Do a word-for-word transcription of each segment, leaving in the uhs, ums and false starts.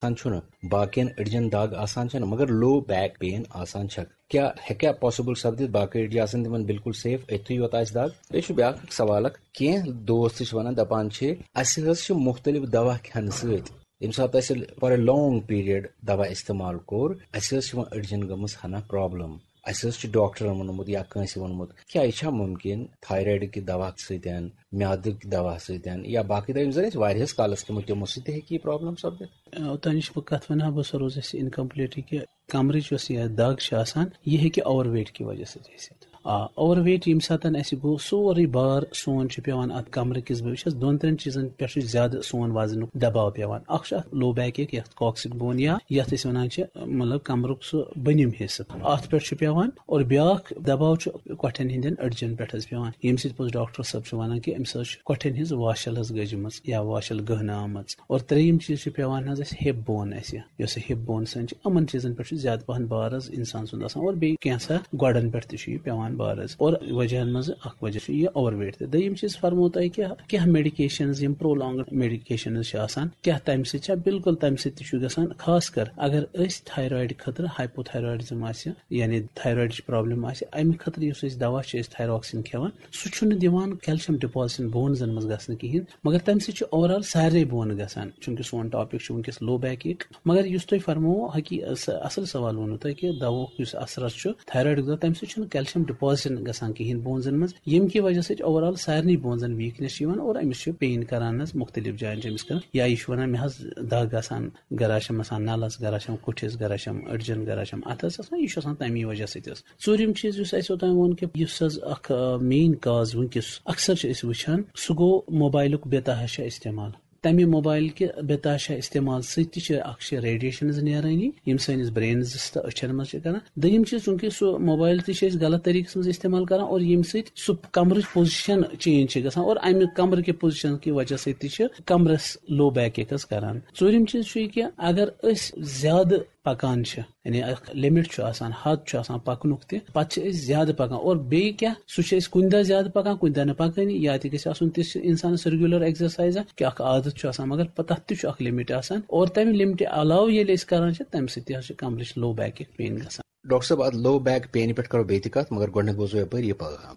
آسان چھُنہٕ، باقین أڈجن دگ آسان چھنہٕ، مگر لو بیک پین آسان چھکھ۔ کیٛاہ ہیٚکیٛاہ پاسبل سپدِتھ؟ باقٕے أڈجہِ آسن تِمن بالکل سیف، أتھی یوت آسہِ دگ؟ بیٚیہِ چھُ بیٛاکھ اکھ سوال اکھ، کینٛہہ دوست چھِ ونان، دپان چھِ، اسہِ حظ چھِ مختلف دوا کھٮ۪نہٕ سۭتۍ، ییٚمہِ ساتہٕ اسہِ for a long period دوا استعمال کوٚر، اسہِ حظ چھِ وۄنۍ أڈجن گٔمٕژ ہنا پرابلم۔ اسہِ حظ چھُ ڈاکٹرن ووٚنمُت یا کٲنٛسہِ ووٚنمُت، کیٛاہ یہِ چھا مُمکِن تھایرایڈ کہِ دوا سۭتۍ، میادٕ کہِ دوا سۭتۍ یا باقٕے دوا یِم زن أسۍ واریاہس کالس کھٮ۪مو، تِمو سۭتۍ تہِ ہیٚکہِ یہِ پرابلم سپدِتھ؟ اوٚتانۍ چھُس بہٕ کتھ ونان، بہٕ سا روزٕ اَسہِ incomplete کہِ کمرٕچ یۄس یہِ دگ چھِ آسان، یہِ ہیٚکہِ اوور ویٹ کہِ وجہ سۭتۍ ٲسِتھ۔ آ، اوور ویٹ ییٚمہِ ساتہٕ اَسہِ گوٚو، سورُے بار سون چھُ پٮ۪وان اَتھ کمرٕ کِس، بہٕ وٕچھس، دۄن ترٛٮ۪ن چیٖزن پٮ۪ٹھ چھُ زیادٕ سون وزنُک دباو پٮ۪وان۔ اکھ چھُ اَتھ لو بیک ایک، یتھ کاکسک بون یا یتھ أسۍ ونان چھِ، مطلب، کمرُک سُہ بٔنِم حصہٕ، اتھ پٮ۪ٹھ چھُ پٮ۪وان، اور بیٛاکھ دباو چھُ کۄٹھٮ۪ن ہٕنٛدٮ۪ن أڈجن پٮ۪ٹھ حظ پٮ۪وان، ییٚمہِ سۭتۍ پوٚز ڈاکٹر صٲب چھُ ونان کہِ أمِس حظ چھُ کۄٹھٮ۪ن ہٕنٛز واشل حظ گٔجمٕژ یا واشل گٔہنہٕ آمٕژ۔ اور ترٛیٚیِم چیٖز چھُ پٮ۪وان حظ اَسہِ ہِپ بون، اَسہِ یۄس ہِپ بون سٲنۍ چھِ، یِمن چیٖزن پٮ۪ٹھ چھُ زیادٕ پہن بار حظ انسان سُنٛد آسان، اور بیٚیہِ کینٛژھا گۄڈن پٮ۪ٹھ تہِ چھُ یہِ پٮ۪وان بار حظ۔ اور وجہن منٛز اکھ وجہ چھُ یہِ اوور ویٹ تہِ۔ دوٚیِم چیٖز فرمو تۄہہِ کہِ کینٛہہ میڈیکیشنز، یِم پرولانگڈ میڈیکیشنز چھِ آسان، کیٛاہ تَمہِ سۭتۍ چھا؟ بالکل تَمہِ سۭتۍ تہِ چھُ گژھان، خاص کر اگر أسۍ تھایرایڈ خٲطرٕ ہایپوتھایرایڈزم آسہِ، یعنی تھایرایڈٕچ پرابلم آسہِ، اَمہِ خٲطرٕ یُس أسۍ دوا چھِ أسۍ تھایروکسین کھٮ۪وان، سُہ چھُنہٕ دِوان کیلشیم ڈپازشن بونزن منٛز گژھنہٕ کِہینۍ، مگر تَمہِ سۭتۍ چھُ اوور آل سارنٕے بون گژھان، چونکہ سون ٹاپک چھُ وٕنکیٚس لو بیک ایک۔ مگر یُس تۄہہِ فرموو، حقی-، س-، اصل سوال ووٚنوٕ تۄہہِ کہِ دواہُک یُس اثر چھُ تھایرایڈُک دوا، تَمہِ سۭتۍ چھُنہٕ کیلشیم ڈپازشن گژھان کِہینۍ بونزن منٛز، ییٚمہِ کہِ وجہ سۭتۍ اوور آل سارنٕے بونزن ویکنیس چھِ یِوان اور أمِس چھِ پین کران حظ، مختلف جاین چھِ أمِس کران، یا یہِ چھُ ونان، مےٚ حظ دگ آسان، گرا چھم آسان نلس، گرا چھم کُٹھِس، گرا چھم أڈجن، گرا چھم اتھس آسان، یہِ چھُ آسان تَمی وجہ سۭتۍ حظ۔ ژوٗرِم چیٖز یُس اَسہِ اوٚتام ووٚن کہِ یُس حظ اکھ، آ، مین کاز وٕنکیٚس اکثر چھِ أسۍ وٕچھان، سُہ گوٚو موبایلُک بے تحاشا استعمال۔ تَمہِ موبایل کہِ بے تحاشا استعمال سۭتۍ تہِ چھِ اکھ چھِ ریڈیشنز نیرٲنی، یِم سٲنِس برینس تہٕ أچھن منٛز چھِ کران۔ دوٚیِم چیٖز، چونکہ سُہ موبایل تہِ چھِ أسۍ غلط طریٖقس منٛز استعمال کران اور ییٚمہِ سۭتۍ سُہ کمرٕچ پوزیشن چینج چھِ گژھان اور امہِ کمرٕ کہِ پوزیشن کہِ وجہ سۭتۍ تہِ چھِ کمرس لو بیک ایک حظ کران۔ ژوٗرِم چیٖز چھُ یہِ کہِ اگر أسۍ زیادٕ پکان چھِ، یعنی اکھ لمٹ چھُ آسان، حد چھُ آسان پکنُک تہِ، پتہٕ چھِ أسۍ زیادٕ پکان۔ اور بیٚیہِ کیٛاہ، سُہ چھِ أسۍ کُنہِ دۄہ زیادٕ پکان، کُنہِ دۄہ نہٕ پکٲنی، یا تہِ گژھِ آسُن تِژھ انسانس ریگولر ایکزرسایز کہِ اکھ عادت چھُ آسان، مگر پتہٕ تتھ تہِ چھُ اکھ لمٹ آسان۔ اور تمہِ لمٹہِ علاوٕ ییٚلہِ أسۍ کران چھِ، تمہِ سۭتۍ تہِ حظ چھِ کمرٕچ لو بیک پین گژھان۔ ڈاکٹر صٲب، اتھ لو بیک پینہِ پٮ۪ٹھ کرو بیٚیہِ تہِ کتھ، مگر گۄڈٕنیتھ بوزو یپٲرۍ یہِ پیغام۔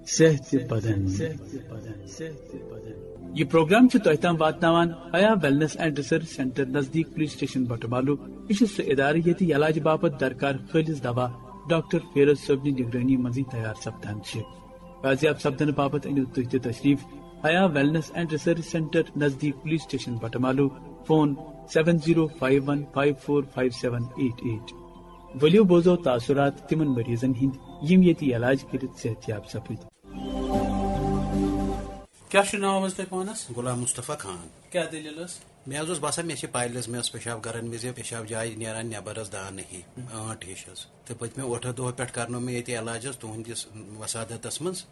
صحت بدن۔ یہ پروگرام چھُ تۄہہِ تام واتناوان حیا ویلنس اینڈ ریسرچ سینٹر نزدیک پولیس سٹیشن بٹمالو۔ یہِ چھُ سُہ ادارٕ ییٚتہِ علاج باپتھ درکار خٲلص دوا ڈاکٹر فیروز صٲبنہِ نگرٲنی منٛزٕے تیار سپدان چھِ۔ بازیاب سپدنہٕ باپتھ أنِو تُہۍ تہِ تشریف حیا ویلنس اینڈ ریسرچ سینٹر نزدیک police station Batamaloo. Phone seven zero five one five four five seven eight eight۔ ؤلِو بوزو تاثرات تِمن مریضن ہٕنٛدۍ یِم ییٚتہِ علاج کٔرِتھ صحت یاب سپٕدۍ۔ کیٛاہ چھُ ناو حظ تۄہہِ پانس؟ غلام مصطفیٰ خان۔ کیٛاہ دٔلیٖل ٲس؟ مےٚ حظ اوس باسان، مےٚ چھِ پایلز، مےٚ ٲس پیشاب کران وِزِ، پیشاب جاے نیران نٮ۪بر حظ دانہٕ ہی، ٲنٹ ہِش حظ۔ تہٕ پٔتمہِ ٲٹھو دۄہو پٮ۪ٹھ کرنوو مےٚ ییٚتہِ علاج حظ تُہنٛدِس وسادتس منٛز۔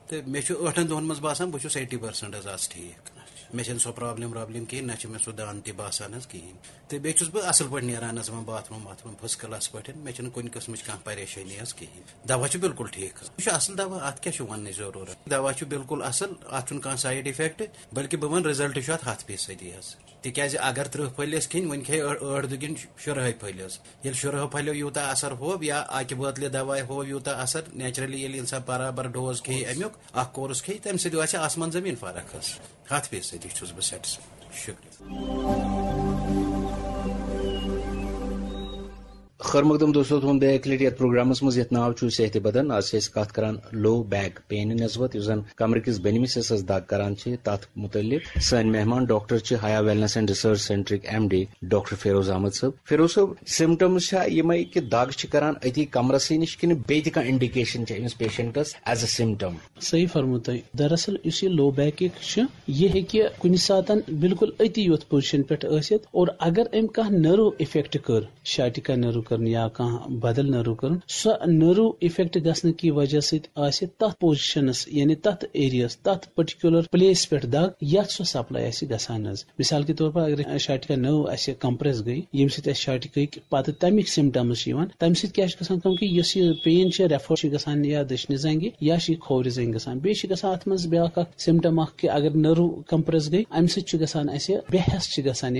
تہٕ مےٚ چھُ ٲٹھن دۄہن منٛز باسان، بہٕ چھُس eighty percent حظ آز ٹھیٖک۔ مےٚ چھَنہٕ سۄ پرابلم وابلم کِہیٖنۍ، نہ چھُ مےٚ سُہ دانہٕ تہِ باسان حظ کِہیٖنۍ۔ تہٕ بیٚیہِ چھُس بہٕ اَصٕل پٲٹھۍ نیران حظ یِمَن باتھ روٗم واتھ روٗم، first class پٲٹھۍ۔ مےٚ چھَنہٕ کُنہِ قٕسمٕچ کانٛہہ پریشٲنی حظ کِہیٖنۍ۔ دوا چھُ بِلکُل ٹھیٖک حظ۔ یہِ چھُ اَصٕل دوا، اَتھ کیٛاہ چھُ وَننٕچ ضروٗرت؟ دوا چھُ بِلکُل اَصٕل، اَتھ چھُنہٕ کانٛہہ side effect، بلکہِ بہٕ وَنہٕ result چھُ اَتھ ہَتھ فیٖصدی حظ۔ تِکیٛازِ اگر ترٕٛہ پھٔلۍ ٲسۍ کھیٚنۍ، وۄنۍ کھیٚیہِ ٲ-، ٲٹھ دُگِنۍ شُرہَے پھٔلۍ حظ۔ ییٚلہِ شُرہو پھٔلٮ۪و یوٗتاہ اثر ہوو یا اَکہِ بٲتلہِ دوایہِ ہوو یوٗتاہ اثر، naturally ییٚلہِ اِنسان برابر dose کھیٚیہِ اَمیُک، اَکھ course کھیٚیہِ، تَمہِ سۭتۍ واتہِ آسمان زٔمیٖن فرق حظ۔ ہَتھ فیٖصدی چھُس بہٕ satisfied۔ شُکریہ۔ خٲر مقدم دوستو، تُہُنٛد بیٚیہِ اَکہِ لَٹہِ یَتھ پروگرامَس منٛز یَتھ ناو چھُ صحتِ بدن۔ آز چھِ أسۍ کَتھ کَران low back pain نسبت، یُس زَن کمرٕ کِس بٔنمِس حصس دگ کران چھِ، تَتھ مُتعلِق۔ سٲنۍ مہمان ڈاکٹر چھِ حیا ویلنس اینڈ ریسرچ سینٹرٕکۍ M D doctor Feroz Ahmad صٲب۔ فیروز صٲب، symptoms چھا یِمے کہِ دگ چھِ کران أتی کمرسٕے نِش کِنہٕ بیٚیہِ تہِ کانٛہہ indication چھِ أمِس patientس as a symptom؟ صحیح فرموو تۄہہِ۔ دراصل یُس یہِ low back ache چھُ، یہِ ہیٚکہِ کُنہِ ساتن بالکل أتی یوت position پٮ۪ٹھ ٲسِتھ، اور اگر أمۍ کانٛہہ nerve affect کٔر، sciatica nerve کٔرٕن یا کانٛہہ بدل نٔرو کٔرٕن، سۄ نٔرو افیکٹ گژھنہٕ کہِ وجہ سۭتۍ آسہِ تتھ پوزیشنس، یعنی تتھ ایریاہس، تتھ پرٹیکولر پلیس پٮ۪ٹھ دگ، یتھ سۄ سپلاے آسہِ گژھان حظ۔ مثال کے طور پر اگر شاٹکا نٔو اسہِ کمپریس گٔے، ییٚمہِ سۭتۍ اسہِ شاٹکٕکۍ پتہٕ تمیِکۍ سمٹمز چھِ یِوان، تمہِ سۭتۍ کیٛاہ چھُ گژھان کٲم کہِ یۄس یہِ پین چھِ ریفر چھِ گژھان یا دٔچھنہِ زنٛگہِ یا چھِ یہِ کھوورِ زنٛگہِ گژھان، بیٚیہِ چھِ گژھان اتھ منٛز بیٛاکھ اکھ سمٹم اکھ کہِ اگر نٔرو کمپریس گٔے، امہِ سۭتۍ چھُ گژھان اسہِ بے حس چھِ گژھان،